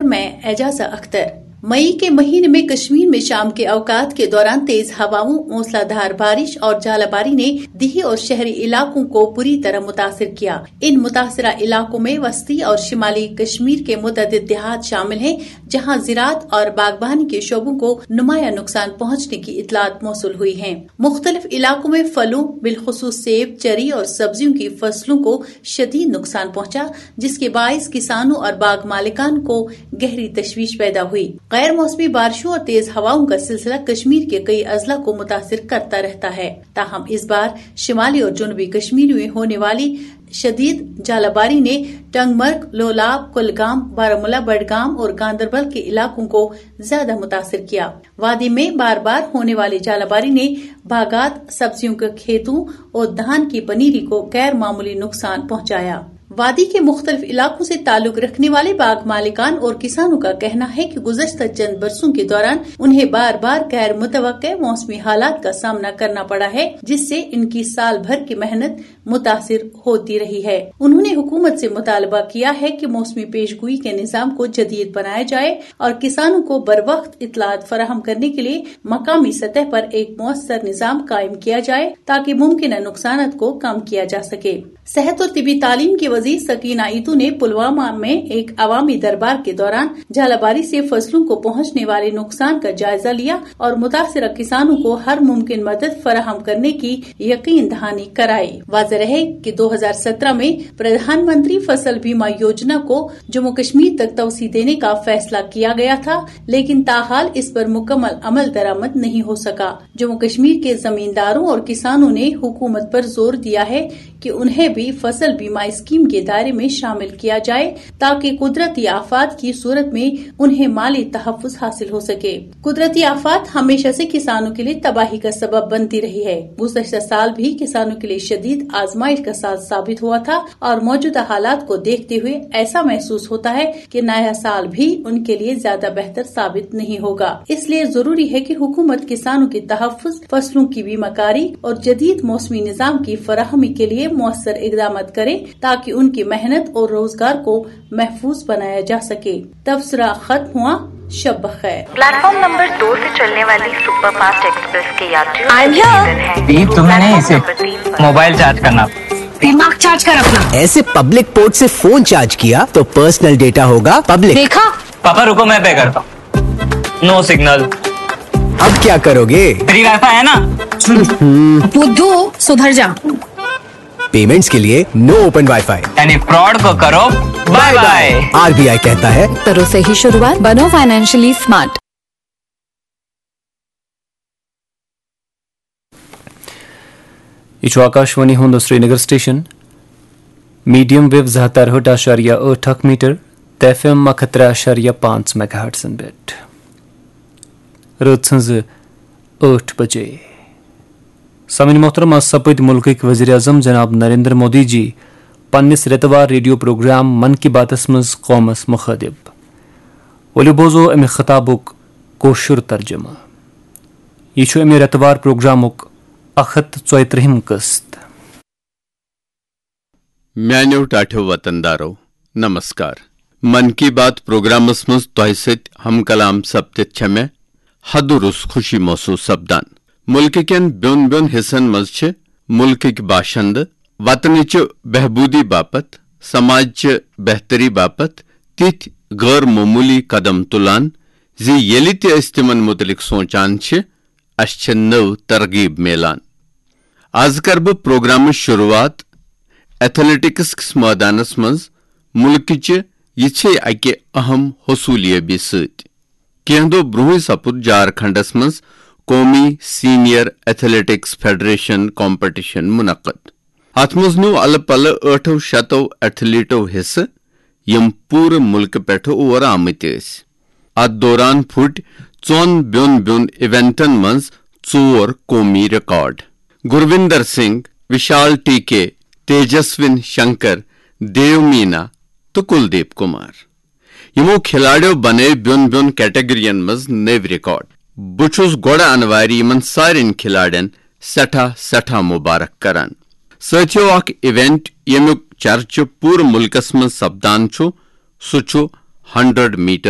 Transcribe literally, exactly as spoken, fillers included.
میں اعجازہ اختر۔ مئی کے مہینے میں کشمیر میں شام کے اوقات کے دوران تیز ہواؤں، موسلادھار بارش اور جالہ باری نے دیہی اور شہری علاقوں کو بری طرح متاثر کیا۔ ان متاثرہ علاقوں میں وسطی اور شمالی کشمیر کے متعدد دیہات شامل ہیں، جہاں زراعت اور باغبانی کے شعبوں کو نمایاں نقصان پہنچنے کی اطلاعات موصول ہوئی ہیں۔ مختلف علاقوں میں پھلوں، بالخصوص سیب، چری اور سبزیوں کی فصلوں کو شدید نقصان پہنچا، جس کے باعث کسانوں اور باغ مالکان کو گہری تشویش پیدا ہوئی۔ غیر موسمی بارشوں اور تیز ہواؤں کا سلسلہ کشمیر کے کئی اضلاع کو متاثر کرتا رہتا ہے، تاہم اس بار شمالی اور جنوبی کشمیر میں ہونے والی شدید جالہ باری نے ٹنگ مرگ، لولاب، کلگام، بارہ ملا، بڈگام اور گاندربل کے علاقوں کو زیادہ متاثر کیا۔ وادی میں بار بار ہونے والی جالہ باری نے باغات، سبزیوں کے کھیتوں اور دھان کی پنیری کو غیر معمولی نقصان پہنچایا۔ وادی کے مختلف علاقوں سے تعلق رکھنے والے باغ مالکان اور کسانوں کا کہنا ہے کہ گزشتہ چند برسوں کے دوران انہیں بار بار غیر متوقع موسمی حالات کا سامنا کرنا پڑا ہے، جس سے ان کی سال بھر کی محنت متاثر ہوتی رہی ہے۔ انہوں نے حکومت سے مطالبہ کیا ہے کہ موسمی پیش گوئی کے نظام کو جدید بنایا جائے اور کسانوں کو بر وقت اطلاعات فراہم کرنے کے لیے مقامی سطح پر ایک مؤثر نظام قائم کیا جائے، تاکہ ممکنہ نقصانات کو کم کیا جا سکے۔ صحت اور طبی تعلیم کی وزیر سکینہ ایتو نے پلوامہ میں ایک عوامی دربار کے دوران جالہ باری سے فصلوں کو پہنچنے والے نقصان کا جائزہ لیا اور متاثرہ کسانوں کو ہر ممکن مدد فراہم کرنے کی یقین دہانی کرائی۔ واضح رہے کہ دو ہزار سترہ میں پردھان منتری فصل بیمہ یوجنا کو جموں کشمیر تک توسیع دینے کا فیصلہ کیا گیا تھا، لیکن تاحال اس پر مکمل عمل درآمد نہیں ہو سکا۔ جموں کشمیر کے زمینداروں اور کسانوں نے حکومت پر زور دیا ہے کہ انہیں بھی فصل بیمہ اسکیم کے دائرے میں شامل کیا جائے، تاکہ قدرتی آفات کی صورت میں انہیں مالی تحفظ حاصل ہو سکے۔ قدرتی آفات ہمیشہ سے کسانوں کے لیے تباہی کا سبب بنتی رہی ہے۔ گزشتہ سال بھی کسانوں کے لیے شدید آزمائش کا سال ثابت ہوا تھا اور موجودہ حالات کو دیکھتے ہوئے ایسا محسوس ہوتا ہے کہ نیا سال بھی ان کے لیے زیادہ بہتر ثابت نہیں ہوگا۔ اس لیے ضروری ہے کہ حکومت کسانوں کے تحفظ، فصلوں کی بیمہ کاری اور جدید موسمی نظام کی فراہمی کے لیے مؤثر اقدامات کرے، تاکہ ان کی محنت اور روزگار کو محفوظ بنایا جا سکے۔ تبصرہ ختم ہوا۔ شب بخیر۔ प्लेटफॉर्म नंबर दो से चलने वाली सुपरफास्ट एक्सप्रेस के यात्रियों I'm here. हैं ये तुम्हें नहीं, इसे मोबाइल चार्ज करना। दिमाग चार्ज कर अपना। ऐसे पब्लिक पोर्ट से फोन चार्ज किया तो पर्सनल डेटा होगा पब्लिक। देखा? पापा रुको, मैं पे करता हूँ। No signal. अब क्या करोगे? फ्री वाईफाई है ना? बुद्धू, सुधर जा। पेमेंट्स के लिए नो ओपन वाईफाई। यानी फ्रॉड को करो बाय बाय। आरबीआई कहता है, करो सही शुरुआत, बनो फाइनेंशियली स्मार्ट। یہِ چھُ آکاشوانی ہُنٛد سرینگر سٹیشن۔ میڈیم ویو زٕ ہتھ ترٕہٲٹھ اعشاریہ ٲٹھ اکھ میٹر تہٕ ایف ایم اکھ ہتھ ترٛےٚ اعشاریہ پانٛژھ میگا ہرٹزن پٮ۪ٹھ۔ رٲژ ہٕنٛزٕ ٲٹھ بجے۔ سامعین محترم، از سپٕدۍ مُلکٕکۍ وزیر اعظم جناب نریندر مودی جی پننِس رٮ۪تہٕ وار ریڈیو پروگرام من کی باتس منٛز قومس مخاطب۔ ؤلِو بوزو امہِ خطابُک کٲشُر ترجمہٕ۔ یہِ چھُ امہِ رٮ۪تہٕ وار پروگرامُک اکھ ہتھ تہٕ ژۄیہِ ترٛہِم قسط۔ میانیو ٹاٹھیو وطن دارو، نمسکار۔ من کی بات پروگرامس منٛز تۄہہِ سۭتۍ ہم کلام سپدِتھ چھےٚ مےٚ حدٕ روٚس خوشی محسوس سپدان۔ ملکہٕ کٮ۪ن بیوٚن بیوٚن حصن منٛز چھِ ملکٕکۍ باشندٕ وطنٕچہِ بہبوٗدی باپتھ، سماجچہِ بہتری باپتھ تِتھۍ غٲر معموٗلی قدم تُلان زِ ییٚلہِ تہِ أسۍ تِمن مُتعلق سونٛچان چھِ، اسہِ چھےٚ نٔو ترغیب میلان۔ از کرٕ بہٕ پروگرامٕچ شروٗعات ایتھلیٹکس کِس مٲدانس منٛز مُلکٕچہِ یِژھے اکہِ اہم حصوٗلیٲبی سۭتۍ۔ کینٛہہ دۄہ برونٛہٕے سپُد جھارکھنڈس منٛز قومی سینئر ایتھلیٹکس فیڈریشن کمپٹیشن منعقد۔ اتھ منٛز نیوٗ الہٕ پلہٕ ٲٹھو شتو ایتھلیٹو حصہٕ، یِم پوٗرٕ مُلکہٕ پٮ۪ٹھٕ اور آمٕتۍ ٲسۍ۔ اتھ دوران پھُٹۍ ژۄن بیوٚن بیوٚن ایونٹن منٛز ژور قومی ریکارڈ۔ گرویندر سنگھ، وشال ٹی کے، تیجسوین شنکر، دیو مینا تہٕ کلدیپ کمار۔ یِمو کھلاڑیو بنٲوۍ بیوٚن بیوٚن کیٹگرین منٛز نٔوۍ ریکارڈ۔ بہٕ چھُس گۄڈٕ انوارِ یِمن سارٮ۪ن کھلاڑٮ۪ن سٮ۪ٹھاہ سٮ۪ٹھاہ مبارک کران۔ سٲتھیو، اکھ ایونٹ ییٚمیُک چرچہٕ پوٗرٕ مُلکس منٛز سپدان چھُ، سُہ چھُ ہنڈرڈ میٹر